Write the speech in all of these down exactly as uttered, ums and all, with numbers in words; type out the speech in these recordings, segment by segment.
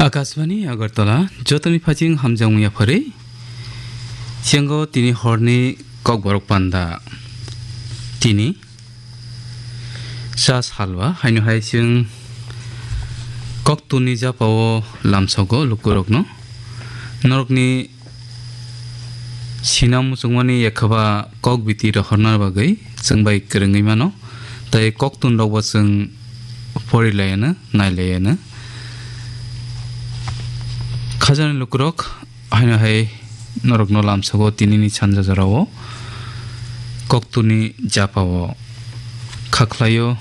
Akashbani Agartala, jotoni phaching hamjakmung yapharwi. Siyango tini horni kokborok panda. Tini sa salwa, haino hai chwng koktunni japao lamsogo lukurokno. Norokni sinam muchungmani ekhaba kok biti rohorna bagwi chwng bai kwrwngwi mano. Tai koktun rokbo chwng porilayano, nailayano. Khajani lukurok, haino hai norokno lamsogo tinini sanja jorao koktuni japao khaklaio,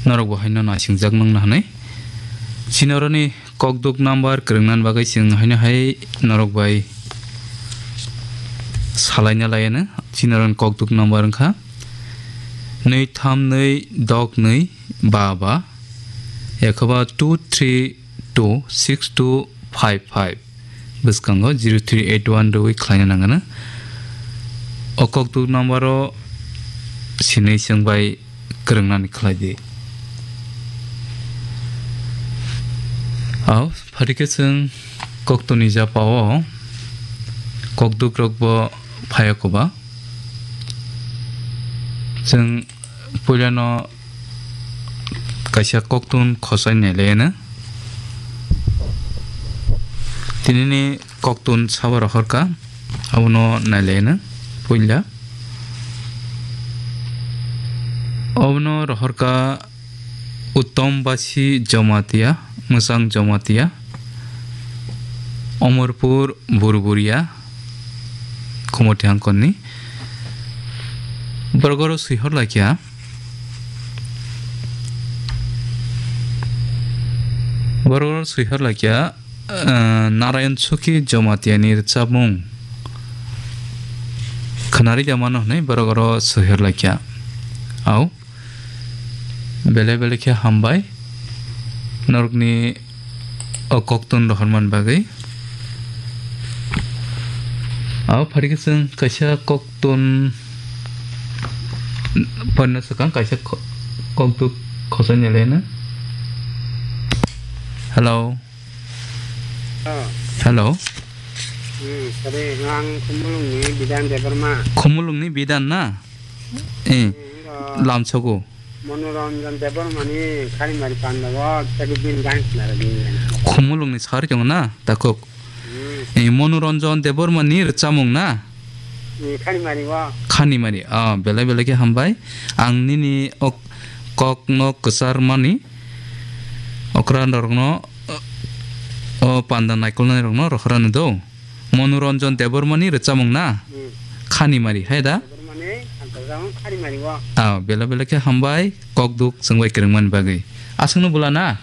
norokbo haino naisingjaknwng hwnwi. Chini oroni kokduk number kwrwngnani bagwi chwng haino hai norok bai salaina layano. Chini oroni kokduk number wngkha nwi tham nwi dok nwi ba ba, ekhaba two three two six two five five, bwskango zero three eight one rwui khlaina nangano. O kokduk number o sinwi chwng bai kwrwngnani khlai di. Au, phaikhe chwng koktuni japao kokduk rokbo phaiya koba. Chwng puilano kaisa koktun khosai nailaino. Tinini koktun sabo rohorka, abono nailaino puila. Obono rohorka Uttom Basi Jomatia, Mwsang Jomatia, Omorpur Burburia, Khumoti hangkonni. Borok oro swihor laikya. Borok oro swihor laikya, eh, Narayan Suki Jomatia ni rwchapmung khwnari da mano hwnwi borok oro swihor laikya. Au. Belai belai khe hambai norokni o koktun rohormani bagwi. Abo phaikhe chwng kaisa koktun porna swkang kaisa ko-, kokduk khosai nailaino. Hello. Oh. Hello. Hmm, sorry, ang Khumulungni Bidan Debbarma. Khumulungni Bidan na? Eh, hmm, lamsogo. Monoranjan Debbarmani Kharimari Pandao, tei bini gan sinara bini gan. Khumulungni sari tongo na, takhuk. Hmm. Eh, Monoranjan Debbarmani rwchapmung na? Hmm, Kharimari o. Khanimari, ah, belai belai khe hambai. Ang nini ok-, kokno kwcharmani, okra norokno, o panda naikolnai rokno rohorani do. Monoranjan Debbarmani rwchapmung na? Hmm. Khanimari, hai da? Debbarmani, ang rwchapmung Khanimari o. Ah, belai belai khe hambai, kokduk chwng bai kwrwngmani bagwi. Aswkno bula na?